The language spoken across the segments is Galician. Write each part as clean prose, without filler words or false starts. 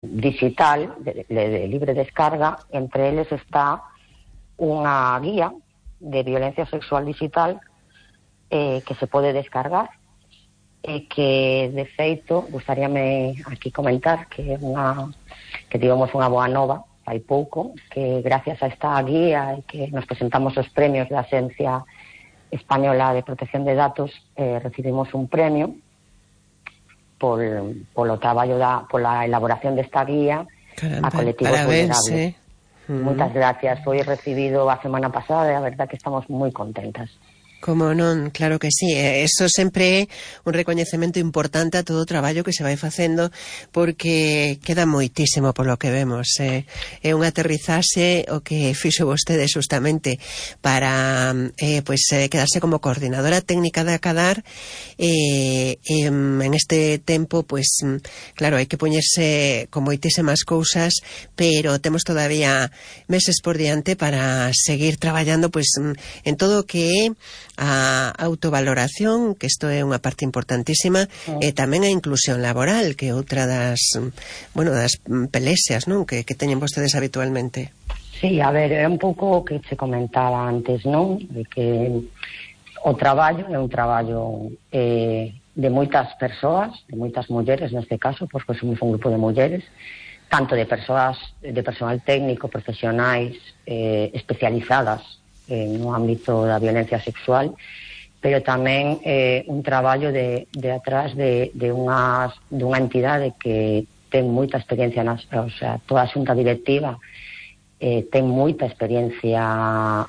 digital de libre descarga. Entre eles está unha guía de violencia sexual digital que se pode descargar e que, de feito, gustaríame aquí comentar que tivemos unha boa nova hai pouco, que gracias a esta guía e que nos presentamos os premios da Axencia Española de Protección de Datos, recibimos un premio polo traballo pola elaboración desta guía. Caramba, a colectivos vulnerables. Moitas gracias. Foi recibido a semana pasada e a verdad que estamos moi contentas. Como non, claro que sí. Eso sempre é un recoñecemento importante a todo o traballo que se vai facendo, porque queda moitísimo polo que vemos. É un aterrizaxe o que fixo vostede justamente para quedarse como coordinadora técnica de Acadar. En este tempo, claro, hai que poñerse con moitísimas cousas, pero temos todavía meses por diante para seguir traballando en todo o que é a autovaloración, que isto é unha parte importantísima, e tamén a inclusión laboral, que é outra das pelexas, non, que teñen vostedes habitualmente. Sí, a ver, é un pouco o que se comentaba antes, non? De que o traballo é un traballo de moitas persoas, de moitas mulleres neste caso, porque somos un grupo de mulleres, tanto de persoas, de personal técnico, profesionais especializadas no ámbito da violencia sexual, pero tamén un traballo de atrás de unha entidade que ten moita experiencia, toda a xunta directiva ten moita experiencia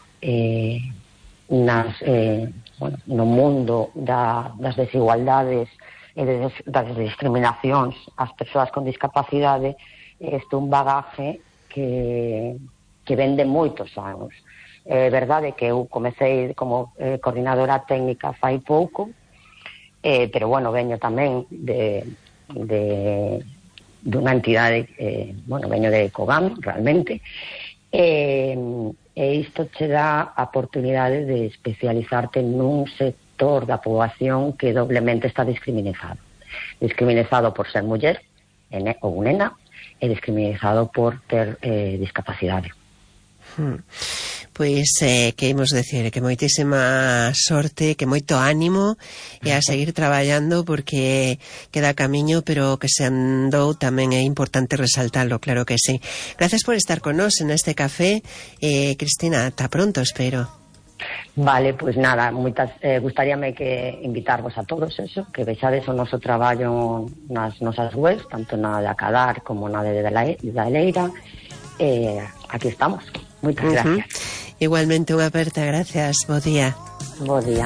no mundo das desigualdades e das discriminacións ás persoas con discapacidade. Este é un bagaje que ven de moitos anos. É verdade que eu comecei como coordinadora técnica fai pouco, pero veño tamén dunha entidade, veño de COGAM realmente, e isto che dá a oportunidade de especializarte nun sector da poboación que doblemente está discriminado por ser muller ou nena, e discriminado por ter discapacidade. Pois, que imos decir, que moitísima sorte, que moito ánimo e a seguir traballando, porque queda camiño, pero que se andou tamén é importante resaltarlo, claro que sí. Gracias por estar con nós en este café, Cristina, ata pronto, espero. Vale, pois nada, gustaríame que invitarvos a todos eso, que vexades o noso traballo nas nosas webs, tanto na de Acadar como na de da Leira. Aquí estamos. Moitas gracias. Igualmente unha aperta, gracias, bo día. Bo día.